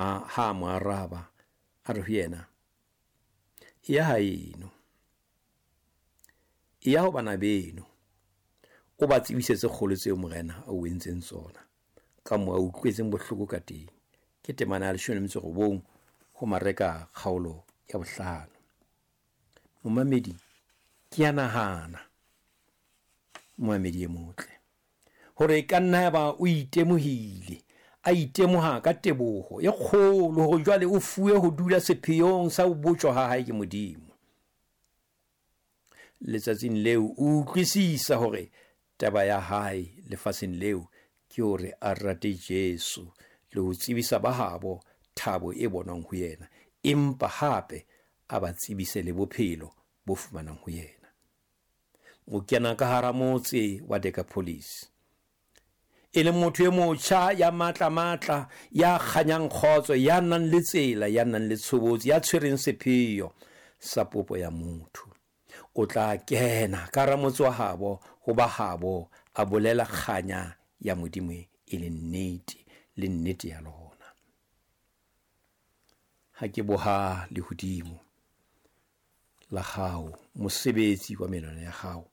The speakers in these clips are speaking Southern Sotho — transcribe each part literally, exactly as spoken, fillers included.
Ha mo araba, a re ho yena, "Eya haeno, eya ho bana beno, o ba tsebise tse kgolo tseo Morena a o entseng tsona, ka moo a utlwetseng bohloko ka teng." Ke temana ya leshome le metso e robong ho Mareka kgaolo ya bohlano. Momamedi, ke a nahana, momamedi e motle, hore e ka nna ya ba o itemohile, a itemoha ka teboho e kgolo hore jwale o fuwe ho dula sepheong sa ho botjwa ha hae ke Modimo. Letsatsing leo o utlwisisa hore taba ya hae lefatsheng leo ke hore a rate Jesu le ho tsebisa ba habo thabo e bonwang ho yena, empa hape a ba tsebise le bophelo bo fumanang ho yena. O kena ka hara motse wa Decapolis, e le motho e motjha ya matla matla, ya kganyang kgotso, ya nang le tsela, ya nang le tshobotsi, ya tshwereng sepheo sa popo ya motho. O tla kena ka hara motse wa habo, ho ba habo, a bolela kganya ya Modimo e le nnete, le nnete ya lona. Ha ke boha lehodimo la hao, mosebetsi wa menwana ya hao,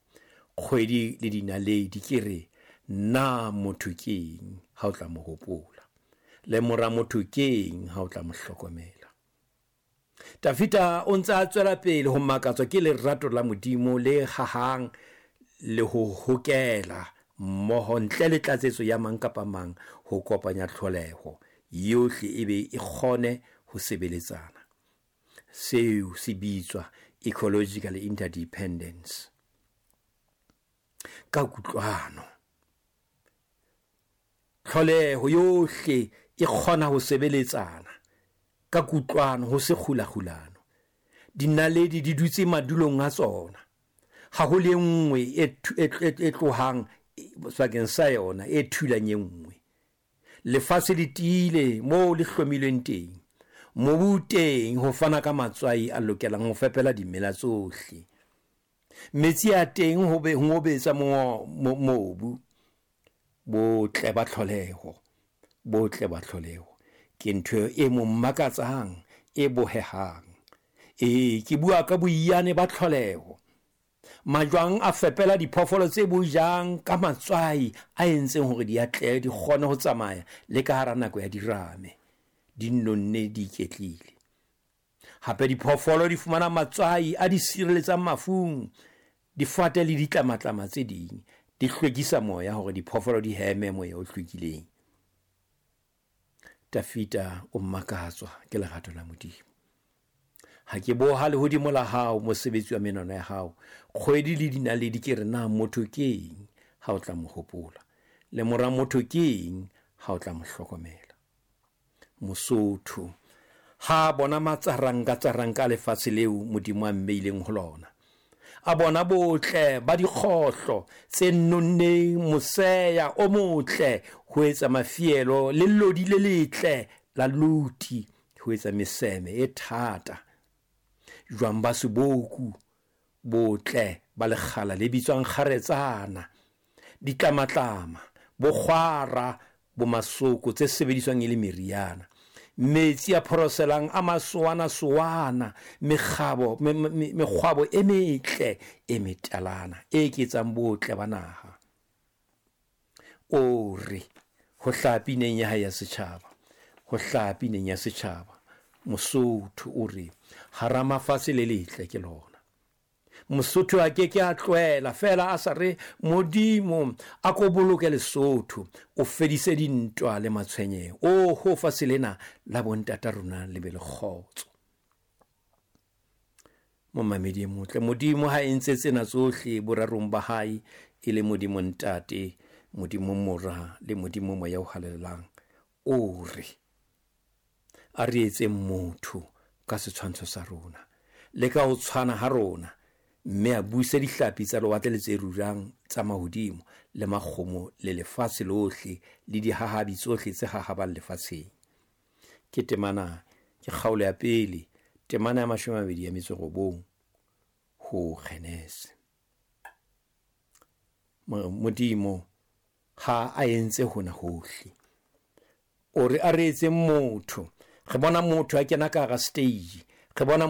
kgwedi le dinaledi, ke re, na motho keng ha o tla mo hopola, le mora motho keng ha o tla mo hlokomela? Tafita o ntse a tswela pele ho makatswa ke lerato la Modimo le hahang le ho hokela mmoho ntle le tlatsetso ya mang kapa mang ho kopanya tlholeho yohle e be e kgone ho sebeletsana. Seo se bitswa ecological interdependence. Ka kutlwano, tlholeho yohle e kgona ho sebeletsana ka kutlwano, ho se kgulakgulano. Dinaledi di dutse madulong a tsona, ha ho le nngwe e tlohang sebakeng sa yona e thulang e nngwe. Lefatshe le tiile moo le hlomilweng teng, mobu teng ho fana ka matswai a lokelang ho fepela dimela tsohle. Metsi a teng ho be ho obetsa mobu. Botle ba tlholeho, botle ba tlholeho ke ntho e mo makatsang, e bohehang. E, ke bua ka boiyane ba tlholeho. Majwang a fepela diphoofolo tse bojang ka matswai a entseng hore di atlehe, di kgone ho tsamaya le ka hara nako ya dirame, di nonne, di iketlile. Hape diphoofolo di fumana matswai a di sireletsang mafung. Difate le ditlamatlama tse ding di hlwekisa moya hore diphoofolo di heme moya o hlwekileng. Tafita o makatswa ke lerato la Modimo. Ha ke boha lehodimo la hao, mosebetsi wa menwana ya hao, kgwedi le dinaledi, ke re, na motho keng ha o tla mo hopola, le mora motho keng ha o tla mo hlokomela? Mosotho ha bona matsaranka tsaranka lefatshe leo Modimo a mmeileng ho lona, a bona botle ba dikgohlo tse nonneng, moseya o motle ho etsa mafielo, le lodi le letle la luti ho etsa meseme e thata, jwang ba seboku, botle ba lekgala le bitswang kgaretsana, ditlamatlama, bokgwara, bo masoko tse sebediswang e le meriana, metsi a phoroselang a masowana-sowana, mekgabo, mekgwabo e metle e metalana e eketsang botle ba naha. O re ho hlaha pineng ya hae ya setjhaba, ho hlaha pineng ya setjhaba, Mosotho o re, hara mafatshe le letle ke lona. Mosotho a ke ke a tlohela fela a sa re, Modimo a ko boloke Lesotho, o fedise dintwa le matshwenyeho, o ho fatshe lena la bontata rona le be le kgotso. Momamedi e motle, Modimo ha entse tsena tsohle borarong ba hae, e le Modimo Ntate, Modimo Mora le Modimo Moya o Halalelang, o re a re etseng motho ka setshwantsho sa rona le ka ho tshwana ha rona, mme a buse dihlapi tsa lewatle le tse rurang tsa mahodimo le makgomo le lefatshe lohle le dihahabi tsohle tse hahabang lefatsheng. Ke temana, ke kgaolo ya pele, temana ya mashome a mabedi ya metso e robong ho Genese. Modimo ha a entse hona hohle, o re a re etse motho Re bona motho a kena ka hara stage, re bona